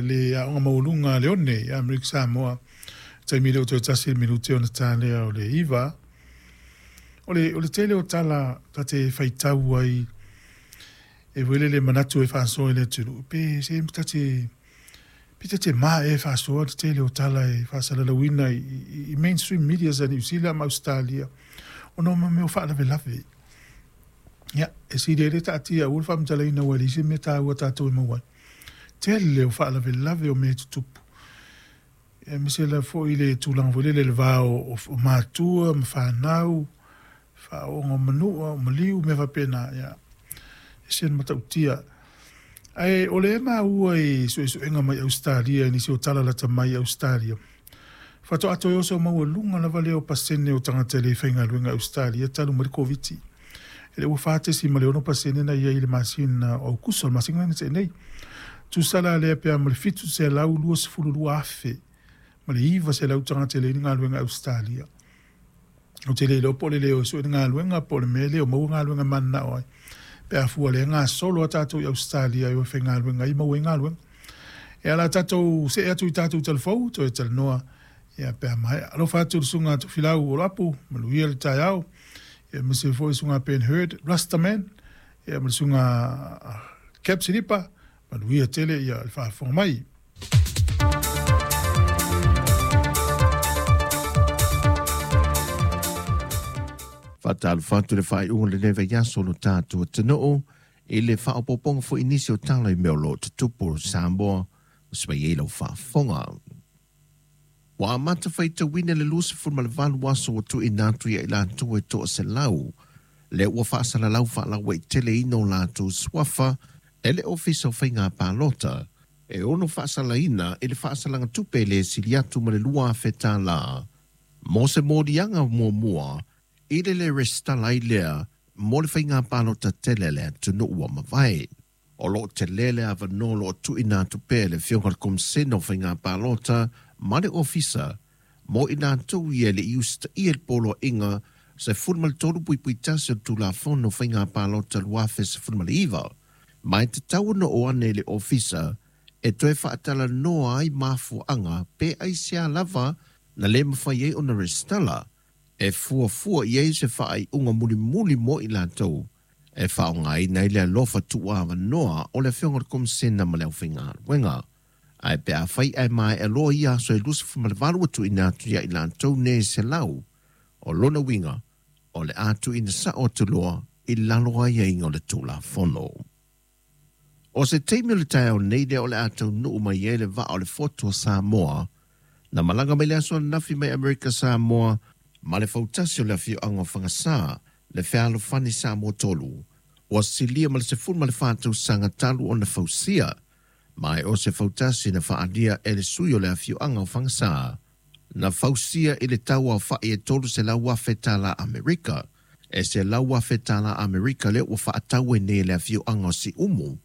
Le aoga maualuga a Leone i Amerika Samoa. Taimi lea ua toe 1 minute ona ta lea o le 9. O le tele o tala ta te faitau ai e wele le manatu e faasoa i le atunuu pe se ta te ma e faasoa le tele o tala e faasalalauina i mainstream media sa Niu Sila ma Australia ona o mea o faalavelave. Ia, e sili ai le taatia aua le faamatalaina ua e leai se mea taua tatou e maua ai. Tele o faalavelave o mea e tutupu. Aemaise lava foi le tulaga foi lele i le va o matua ma fanau, faaooga o manua, o maliu, mea faapena. Ia, e ese le matautia. Ae o lea e maua i suesuega mai Ausetalia i nisi o tala lata mai i Ausetalia, faatoa toe oso maualuga lava lea o pasene o tagata e le faigaluega i Ausetalia talu mai le Koviti. E le ua 4.6% na i ai i le masina o Aukuso, le masina na tea nei. Tusa la lea pe a ma le 722,000 ma le 900 tagata e leai ni galuega i Ausetalia. Ou te le iloa po o le le o e sue ni galuega po o le mea le o maua galuega e mananao ai. Pe a fua lea gasolo a tatou i Ausetalia e o e faigaluega ai maua ai galuega. E ala tatou see atu i tatou talafou, toe talanoa ia pe a maea. Alofa atu le susuga Tofilau Oloapu, manuia le taeao. Ia aemaise foi le susuga Ben Hurd, Rastaman, ia ma le susuga Cap Silipa, manuia tele ia le faafofoga mai. Faatalofa atu le faaiuga o lenei vaiaso o lo tatou atunuu i le faaopoopoga foi i nisi o tala i mea o lo o tutupu o Samoa o se mai ai lau faafofoga. Ua amata faitauina le 28 aso ua tuuina atu ia i latou e 100 lea ua faasalalau faalauaiteleina o latou suafa e le Ofisa o Faiga Palota e ono faasalaina i le faasalaga tupe le sili atu ma le $2,000 mo se moliaga muamua i le le resitala ai lea mo le faiga palota tele le atunuu ua mavae. O loo tele le avanoa o loo tuuina atu pea e le Afioga i le Komisena o Faiga Palota ma le Ofisa mo i latou ia e le i usitaia le poloaiga 13.1 o le Tulafono o Faiga Palota 2019, ma e tatau ona oo ane i le Ofisa e toe faatalanoa ai mafuaaga pe aisea lava na le mafai ai ona resitala e fuafua i ai se faaiuga mulimuli mo i latou e faaaogaina ai le alofa tuuavanoa o le Afioga i le Komisena ma le aufaigaluega. Ae pe afai ae maea loa ia aso e 28 ua tuuina atu ia i latou nei 100, o lona uiga o le a tuuina sao atu loa i lalo o aiaiga o le Tulafono. O se taimi o le taeao nei lea o le a taunuu mai ai le vaa o le Fotu o Samoa na malaga mai le aso ananafi mai Amerika Samoa ma le fautasi o le afioaga o Fagasā le Fealofani Samoa 3 ua silia ma le 14 tausaga talu ona fausia ma e o se fautasi na faaalia e le sui o le afioaga o Fagasā na fausia i le tau aofa'i e $300,000 Amerika e $100,000 Amerika lea ua faatau ai nei e le afioaga o Siumu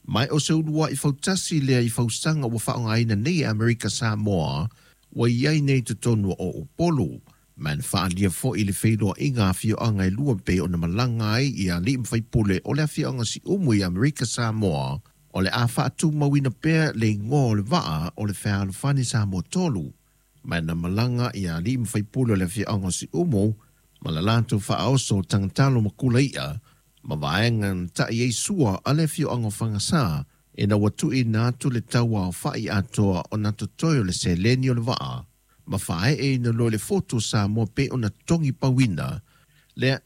ma e o se ulua'i fautasi lea i fausaga ua faaaogaina nei e Amerika Samoa ua i ai nei totonu o Upolu ma na faaalia foi i le feiloaiga afioaga e lua pei ona malaga ai i alii ma faipule o le afioaga Siumu i Amerika Samoa o le a faatumauina pea le igoa o le vaa o le Fealofani Samoa 3 ma na malaga i alii ma faipule o le afioaga o Siumu ma le latou faaoso o tagatalo ma kulaia ma vaega na ta'i ai sua a le afioaga o Fagasā ina ua tuuina atu le tau aofa'i atoa ona totoe o le seleni o le vaa ma faaee ina loa i le Fotu o Samoa pe ona togi pauina lea e